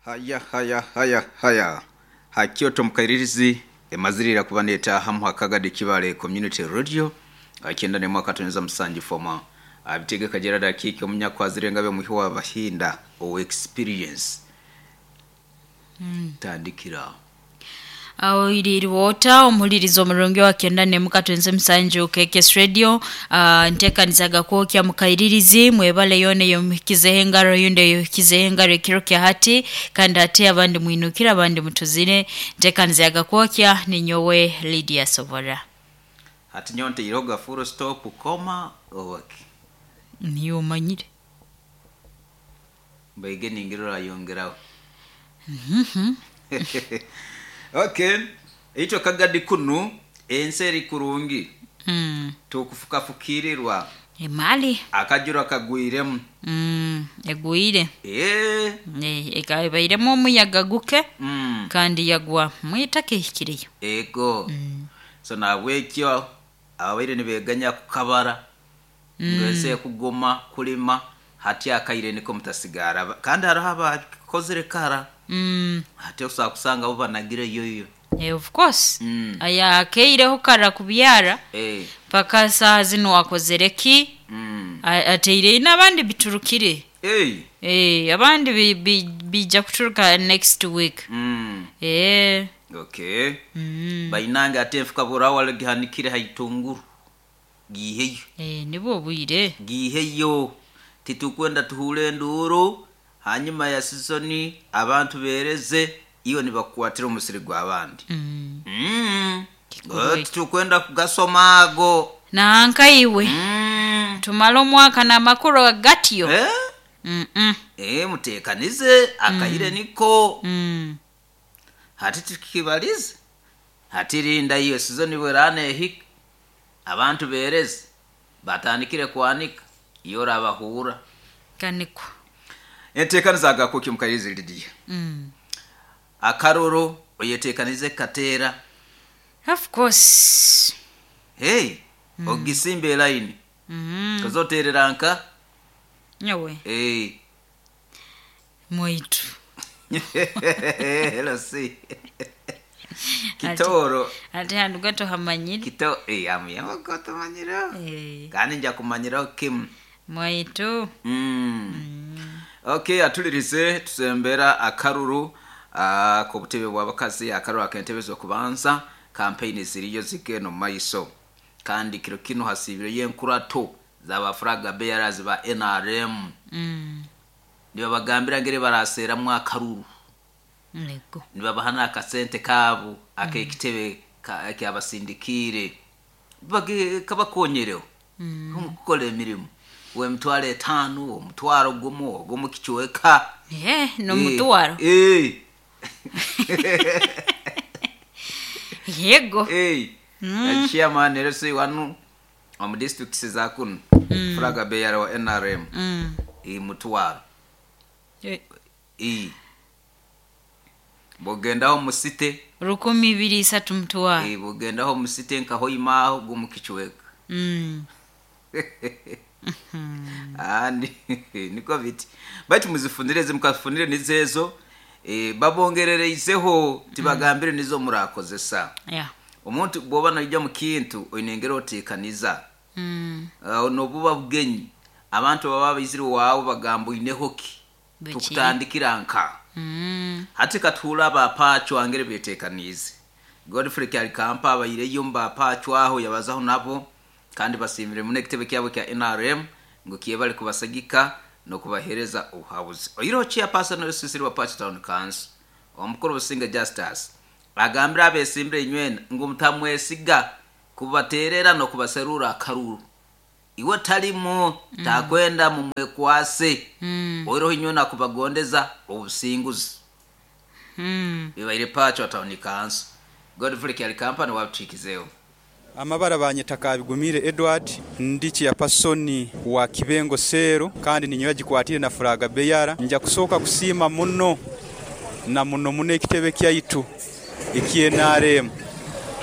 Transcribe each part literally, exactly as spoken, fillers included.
Haya haya haya haya hakyoto mukairirizi emazirira kuba netaha muhakagadi kibale community radio akenda ne mwaka tuneza musanji foma abitegeka Gerard Akike omunyakwazirenga be muhi wa bahinda o experience mm. Tandikira awo iliriwota omulirizo omurungi wa kenda ne mukatwenze musanju K K S Radio uh, ntekanizaga kwokya mukairirizi mwebale yone yomukize hengaro yunde yokize hengaro ekiro kya hati kandi hati abandi mwinukira abandi mutuzire ntekanizaga kwokya ninyowe Lydia Sobora hati nyonte iroga full stop koma owaki niyo manyire mbege ningirora yongeraho mhm Okay, icho kagadi kunu enseri kurungi mm. tukufukafukirirwa emali akajura kagwiremu mm. Egwire eh e, ekabairemu omuyaga guke mm. kandi yagwa mwitaka ehikireyo ego mm. So nabwekyo abaire nibeganya kukabara mm. Ngese kugoma kulima hati akaire niko mutasigara kandi hariho abakozere kara mm. Hati osa kusanga bo banagire yoyo Eh, of course mm. Aya akeireho kara kubyara eh paka saa zino wakozereki mm. Ateire n'abandi biturukire eh eh abandi bija kuturuka next week mm. Eh okay mm. Bainanga atefuka burawa gihanikire haitunguru giheyo Eh nibo bwire giheyo titukwenda tuhure nduru hanyuma ya season abantu bereze iyo nibakuatira umusiri gwa abandi mm. Mm. Tukwenda kugasomago na nkaiwe mm. Tumala omwaka na makuru gatyo eh mm -mm. Eh mutekanize akaire mm. Niko mm. Hati tukibalize hati rinda iyo season bwerane hik abantu bereze batandikire kwanika iyo rabahura kaniko entekanizaga kuki mukarizi Lydia mm. Akaroro oyetekanize katera of course hey mm. Ogisimbe line mm. Kazotereranka nyawe hey mwitu hello si kitoro ati handu gato hamanyire kito eh amu yamagoto manyiro eh kandi nja kumanyiro kim mwitu mm. Mm. Okay atulirize tusembera akaruru uh, ku butebe bw'abakazi akaruru akentebezo kubanza campaign ziriyo zigeno maiso kandi kiro kino hasibire yenkurato zaba flag bearers ba N R M mm. niba bagambira ngere baraseramwe akaruru nego niba bahana akasente kabo akekitebe ka kyabasindikire bage kabakonyereho mm. Kumukora emirimo we mutware tano omutwaro gumu ogumu kichweka eh no mutwaro eh yego eh mm. Chairman rese wanu omu district za kuno mm. Flag bearer wa N R M mm. E mutwaro eh e bogendaho musite rukumi ibiri isatu mutwaro eh bogendaho musite nkaho imaho gumu kichweka mm. Ah niko biti bati muzifunire zimukafunire nizezo eh babongerereizeho tibagambire nizo murakozesa yeah omuntu bwoba najja mu kintu oinengera otekaniza mm. uh, nobuba bugenyi abantu baba biziri wawe bagamba oineho ki tukutandikira nka mm. hati katuhula abapacho angere betekanize Godfrey Kyalikampa abayireyo mbapacho aho yabazaho nabo kandi basimire mune kitebe kyabo kya N R M ngo kiyebale kubasagika no kubahereza ubuhabuzi oyiro chairperson w'esisiri wa Pacho Town Council omukuru Businga Justus agambira abesimbire inywena ngo mutamwesiga kubaterera no kubaserura akaruru iwe talimo mm. Takwenda mumwekwase mm. oyiro inywena kubagondeza obusinguzi mm. Bibaire Pacho Town Council Godfrey Kyalikampa wabutikizeho Amabara banyetaka bigumire Edward ndichi ya pasoni wa Kibengo Sero kandi ninyoya gikwatire na furaga beyara nja kusoka kusima muno na muno muno ekitebe kyaitu iki N R M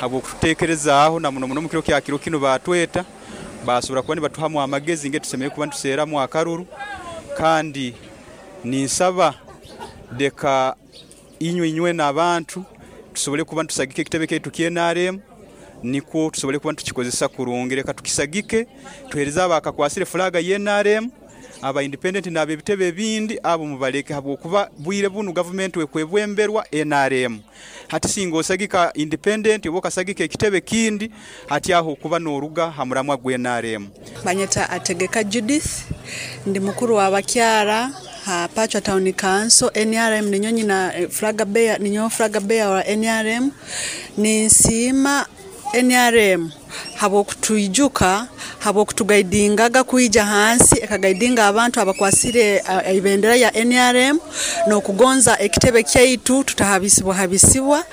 habo kutekereza na muno muno mukiro kya kiro kino batweta basubira kuba batuhamu amagezi nge tusemeye kuba tuseramu akaruru kandi ninsaba Leka inywe inywe n'abantu tusobole kuba ntusagike ekitebe kyaitu kya N R M, nikwo tusobole kuba tukikozesa kurungi. Leka tukisagike, tuhereze abakakwasire flaga ya N R M, aba independent n'ab'ebitebe ebindi abo mubaleke, habwokuba bwire bunu gavumenti ekwebwemberwa N R M. Hati singa osagika independent oba okasagika ekitebe kindi, hati aho okuba n'oruga ha muramwa gwa N R M. Banyeta Ategeka Judith, ndi mukuru wa bakyara ha Pachwa Town Council. N R M ninyo nyina flag bearer, ninyo flag bearer wa N R M. Ninsiima N R M habw'okutwijuka, habw'okutugaidingaga kwija hansi, ekagaidinga abantu abakwasire ibendera ya N R M n'okugonza ekitebe kyaitu tutahabisibwa habisibwa,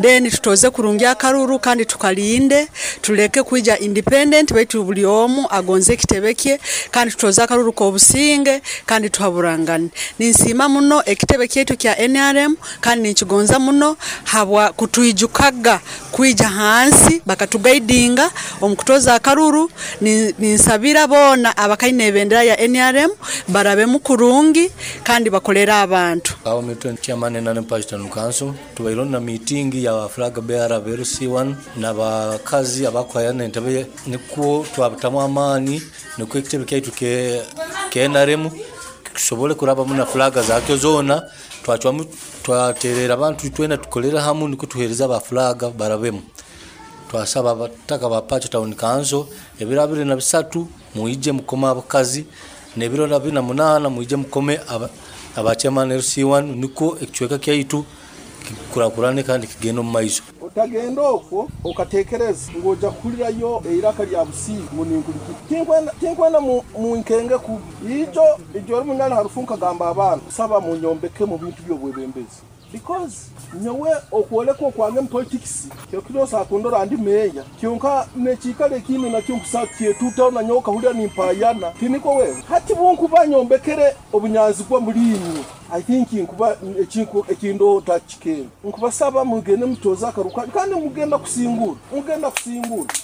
then tutoze kurungi akaruru kandi tukalinde, tuleke kwija independent baitu buli omu agonze ekitebe kye, kandi tutoze akaruru k'obusinge kandi tuhaburangane. Ninsiima muno ekitebe kyaitu kya N R M kandi ninkigonza muno habwa kutwijukaga kwija hansi bakatugaidinga omukutoza akaruru. Ninsabira bona abakaine ebendera ya N R M barabe mukurungi kandi bakolera abantu. Awo mitwe chairman N R M Pachwa Town Council tubairo na meeting ya flag bearer L C one n'abakazi abakwayana entebe, nikwo twabutamu amaani nikwo ekitebe kyaitu ke, ke N R M kisobole kurabamu na flag zakyo zona. Twacwamu twaterera abantu twena tukolera hamu nikwo tuhereza aba flag barabemu. Twasaba abataka ba Pachwa Town Council ebiro abiri na bisatu muije mukome abakazi, n'ebiro abiri na munana muije mukome aba chairman L C one, niko ekicweka kyaitu kikurakurane kandi kigenda omu maiso. Otagenda okwo okatekereza ngoja kuhulirayo eiraka lya busiigu ngu ninkulikira. Tinkwenda, tinkwenda mu, mu nkenge kubi ijo ijo ori munyana harufunka gamba abaana saba munyombeke mu bintu by'obwebembezi, because nyowe okwoleka okwange mu politics kyokirosa akundora ndi meya kyonka nekikale ekindi nakyo nkusa kyetutaho na nyowe okahurira nimpayana tiniko wewe. Hati bunkuba nyombekere obunyanzi bwa muliimwe, I think nkuba ekinku ekindo takikenda nkubasaba mugende mutoza akaruka kandi mugenda kusingura, mugenda kusingura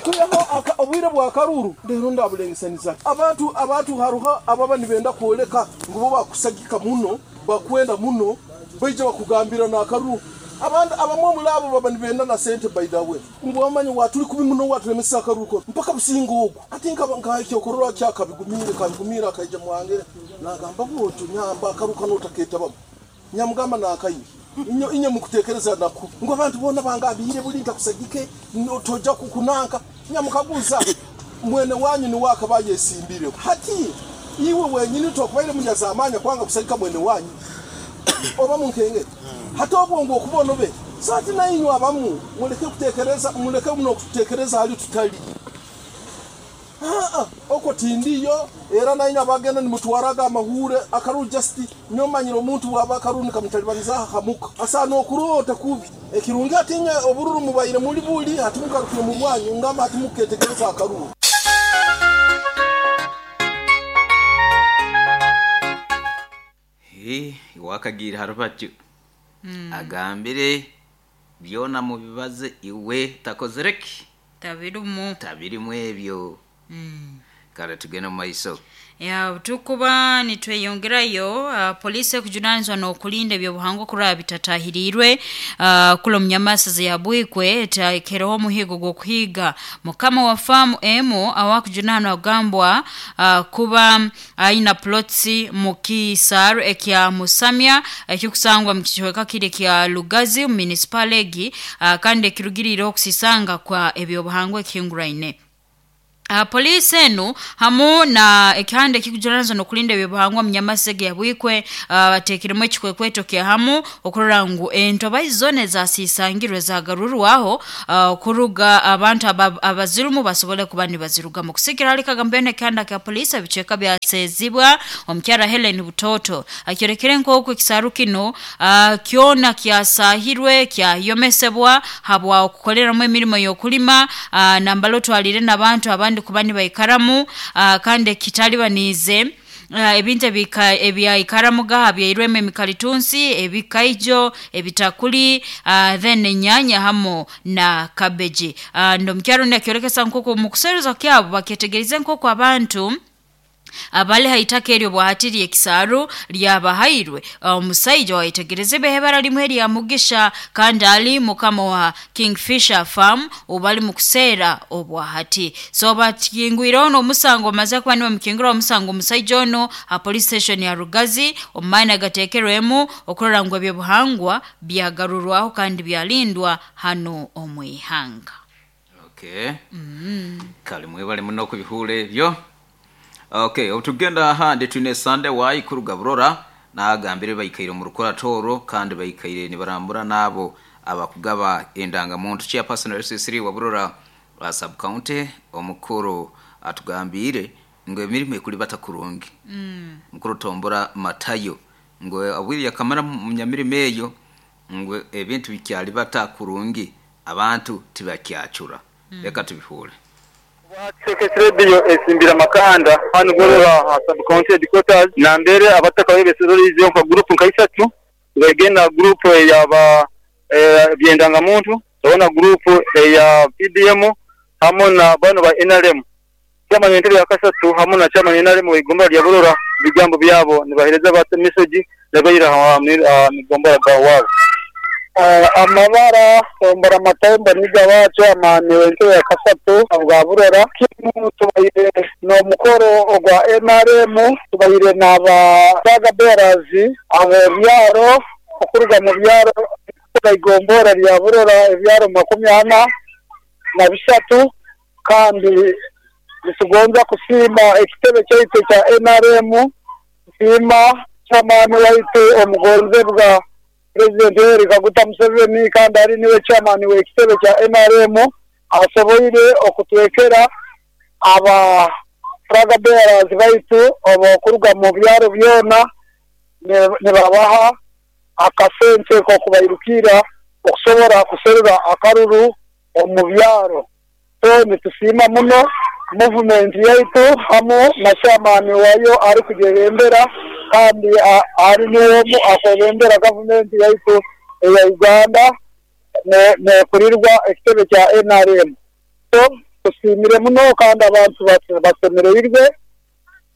kuyaho obwire bwa karuru rero ndabulengesaniza abantu. Abantu haruha ababa nibenda kwoleka ngu bo bakusagika muno bakwenda muno baija bakugambira na karuru. Abantu abamwe muri abo baba nibenda na sente, by the way ngu bamanyi waturi kubi muno waturemesa akaruko mpaka businga ogwo. Ati nkaba nkakyokorora kyakabigumire kabigumira akaija mwangere nagamba bwoto nyamba akaruka notaketa babo nyamugamba nakayi inyo inyo mukutekereza naku ngo abantu bona bangabire buli ntakusagike toja kukunanka nyamukaguza mwene wanyu ni wakabaye simbire. Hati iwe wenyini tokubaire munyazamanya kwanga kusagika mwene wanyu oba munkenge hata obwongo okubona obe sati na inywe abamu muleke kutekereza, muleke muno kutekereza hali tutali ah oko tindiyo era na inywe abagenda nimutwaraga amahure akaru just nyomanyira omuntu waba akaru nikamutalibanza hamuka asa nokurota kubi ekirungi atinya obururu mubaire muri buli hatimukarukire mu rwanyu ngamba hatimuketekereza akaru. Eh, wakagira harubaju mm. Agambire byona mubibaze iwe takozereki tabirumu tabirimu ebyo mm. Kale tugende mu maiso. Ya tukuba nitweyongerayo. Uh, polisi ekujunanizwa n'okulinda ebyobuhangwa kuraba bitatahirirwe uh, kula omunyamasaza ya Bwikwe etakereho omuhigo gw'okuhiga mukama wa faamu emu awakujunanwa agambwa uh, kuba aina plots mu kisaaru ekya Musamya ekikusangwa mu kicweka kiri kya Lugazi municipal egi uh, kandi ekirugirire okusisanga kwa ebyobuhangwa ekihinguraine. Uh, polisi enu hamu na ekihande ekikujuranizwa n'okulinda ebyobuhangwa munyamasege ya Bwikwe uh, bateekiremu ekikwekweto kya hamu okurora ngu entoba zona ezasisangirwe zagarurwaho uh, kuruga abantu abazirumu basobole kuba nibazirugamu. Kusikira hali kagambeno ekihanda kya polisi ebicweka byasezibwa omukyara Helen Butoto akyorekere nk'oku ekisaru kino uh, kyona kyasahirwe kyayomesebwa habwa okukoleramu emirimo y'okulima uh, nambala otwalire n'abantu abandi kuba nibaikaramu uh, kandi kitalibanize uh, ebintu ebyaikaramuga byairwemu emikalitunsi ebikaijo ebitakuli uh, then enyanya hamu na kabeji. uh, ndo mukyaro nakyorekesa nk'oku mu kuseruza kyabo baketegereze nk'oku abantu Abali haitaka eryo bwahatiri ekisaru lyabahairwe omusaija waitegereze behebara limwe lya Mugisha kandi ali mukama wa Kingfisher Farm ubali mukusera obwahati. So batingwire ono omusango maze kuba niwe mukingura omusango omusaija ono ha police station ya Rugazi omumaina gatekerwemu okurora ngu ebyobuhangwa byagarurwaho kandi byalindwa hano omwihanga. Okay. Mm. Kale mwebale muno kubihule ebyo. Okay, otugenda ahandi twine Sunday wa ikuruga Burora nagambire bayikaire mu rukoratoro kandi bayikaire nibarambura nabo abakugaba endangamuntu chairperson R C three wa Burora wa sub county omukuru atugambire ngo emirimo ekuli batakurungi. Mm. Mukuru tombora Matayo ngo abwiri yakamara mu nyamirimo eyo ngo ebintu bikyali batakurungi abantu tibakyacura. Mm. Reka tubihule. Sekretariyo esimbira makanda hano Burora sub county headquarters nambere abataka bebesirorize nka group nka isatu bagenda group yaba byendanga muntu tobona group ya P D M hamwe na bano ba N R M chama nyentebe ya kasatu hamwe na chama N R M igomba lya Burora bigambo byabo nibahereza bata message nabayira migomba ga wabo amabara tombora matombo nigabacho amani wente ya kasatu bwa Burora kimu tubayire no mukoro ogwa N R M tubayire naba saga berazi abo byaro okuruga mu byaro igombora lya Burora ebyaro makumi ana na bisatu kandi nitugonza kusima ekitebe kyaitu kya N R M sima chamani waitu omugonze bwa President Yoweri Kaguta Museveni kandi ari niwe chairman w'ekitebe kya N R M asoboire okutwekera aba flag bearers baitu obokuruga mu byaro byona nibabaha akasente ko kubairukira okusobora kuserura akaruru omu byaro. So nitusima muno movement yaitu hamu na chairman wayo ari kujerembera kandi ari niwomu akorembera government yaitu ya Uganda ne ne kurirwa ekitebe kya N R M. So tusimire muno kandi abantu basemereirwe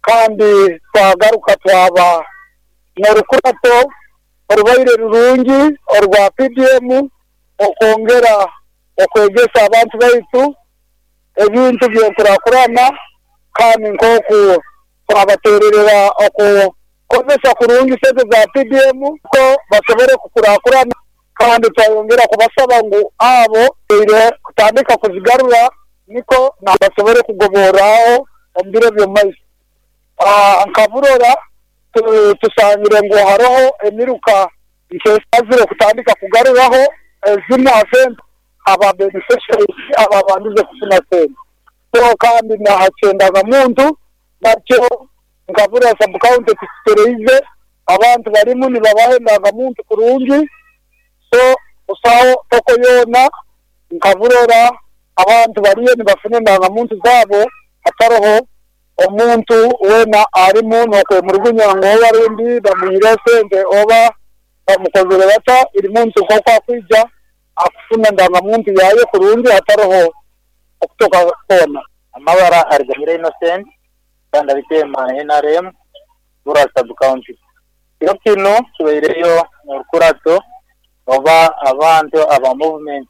kandi twagaruka twaba n'orukurato orubaire rurungi orwa P D M okwongera okwegesa abantu baitu ebintu by'enkurakurana kandi nk'oku twabatererera okukozesa kurungi sente za P D M ko basobore kukurakurana kandi twayongera kubasaba ngu abo ire kutandika kuzigarura niko nabasobore kugoboraho omu biro by'omumaiso. Nka Burora tusangire ngu haroho emiruka nkesazire kutandika kugaruraho ezimu sente aba beneficiaries ababandize kufuna sente. So kandi nahachendaga muntu nakyo nka Burora sub county tutereize abantu barimu nibabahendaga muntu kurungi. So usaho toko yona nka Burora abantu bariyo nibafune ndangamuntu zabo hataroho omuntu wena arimu nokwemurugunya ngo warundi bamuhire sente oba bamukozere bata iri muntu nk'oku akwija akufuna ndangamuntu yaye kurungi hataroho okutoka kona. Amabara Ariganyira Innocent kandi abitema N R M Burora sub county. Kiro kino kibaireyo orukurato oba abantu aba movement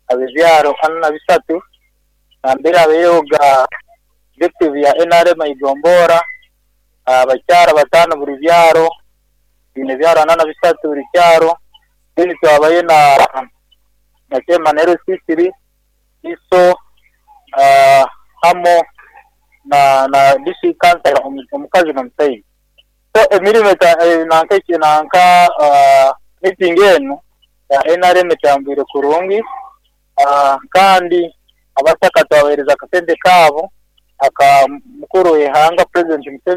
abebyaro ana na bisatu nambere abeyoga objective ya N R M igombora abakyara batano buri byaro bine byaro ana na bisatu buri cyaro then twabaye na na chairman L C three iso uh, hamo na na district council omukazi n'omusaija. So emirimo nanka nanka uh, meeting eno ya N R M etambwire kurungi uh, kandi abataka twabahereza akasente kabo aka mukuru w'ihanga President Museveni.